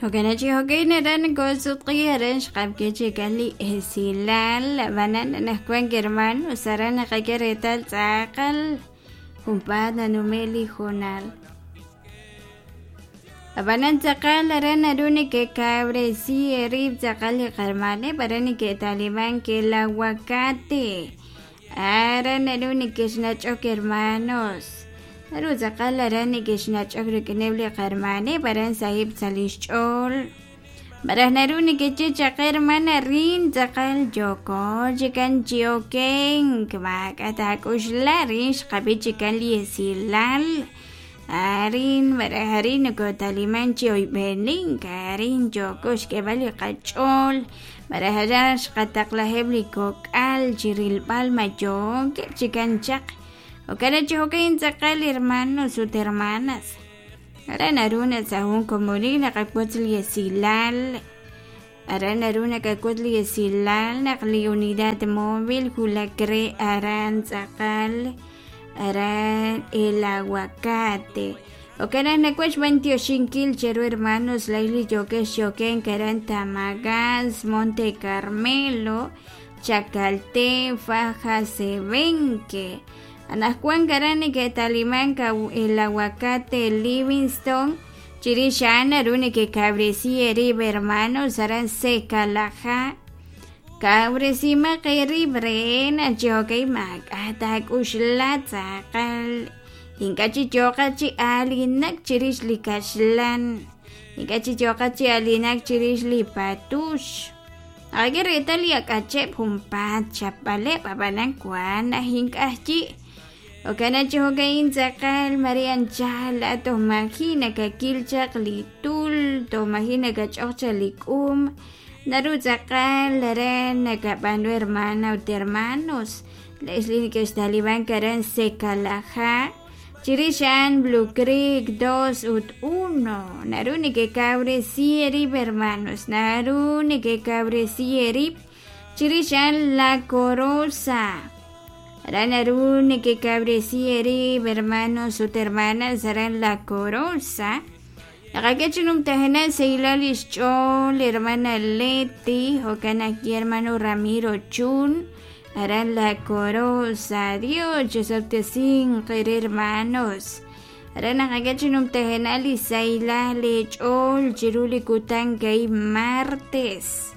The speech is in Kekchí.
Jo'kan chi jo'kan aran koosutq'i aran xqab'ke chikan li esilal ab'anan anaqwan hermanos aran naqak'e reetal tz'aqal junpaat nanume' li hoonal. Ab'anan tz'aqal aran naru nekekawresi eerib' tz'aqal li qarmaneb' aran neke'talimank el aguacate aran naru nekexnach'ok hermanos naru tz'aqal aran nekexnach'ok rik'ineb' li qarmaneb' aran saheb' sa' li xch'ool malaj naru nekeye chaq hermana rin tz'aqal yooko chikan chi okenk maak'a' taak'uxla rin xqab'i chikan li esilal arin malaj arin nokotaliman chi oyb'enink arin yooko xk'eeb'al li qach'ool malaj aran xqataqlaheb' li kok'al chi rilb'al ma yookeb' chikan chaq jo'kan chi jo'kan tz'aqal hermanos ut hermanas aran naru naq sa' jun komonil naqawotz li esilal aran naru nakawotz li esilal naq li unidad móvil wulak re aran tz'aqal aran el aguacate jo'kan naq nawaj xb'antioxinkil cheru hermanos laj li yookex yokenk aran Tamagás Monte Carmelo Chacalté Faja Sebenque anaqwan aran neke'talimank el aguacate Livingston chirix a'an naru nekekawresi eerib' hermanos aran Secalajá kawresimaq eerib' re naq chi jo'kan maak'a' taak'uxla tz'aqal ink'a' chi yooqat chi aalinak chirix li kaxlan ink'a' chi yooqat chi aalinak chirix li patux naqak'e reetal li ak'acheb' junpaat chapb'aleb' ab'anan wan naj ink'a' chi' jo'kan chi jo'ka'in tz'aqal mare anchal laa'at toj maji' nakakil chaq li tul toj maji' nakach'oq chaq li k'um naru tz'aqal aran nakab'aanu hermana ut hermanos le'x li neke'xtalimank aran Secalajá chirix a'an Blue Creek 2 ut 1 naru nekekawresi eerib' hermanos naru nekekawresi eerib' chirix a'an La Corosa aran naru nekekawresi eerib' hermanos ut hermanas aran La Corosa naqak'e chi numtajenaq sahilal lix ch'ool hermana Leti jo'kan ajwi' hermano Ramiro Chun aran La Corosa Dios chisob'tesinq eere hermanos aran naqak'e chi numtajenaq li sahilal leech'ool chiru li kutan ka'ib' martes.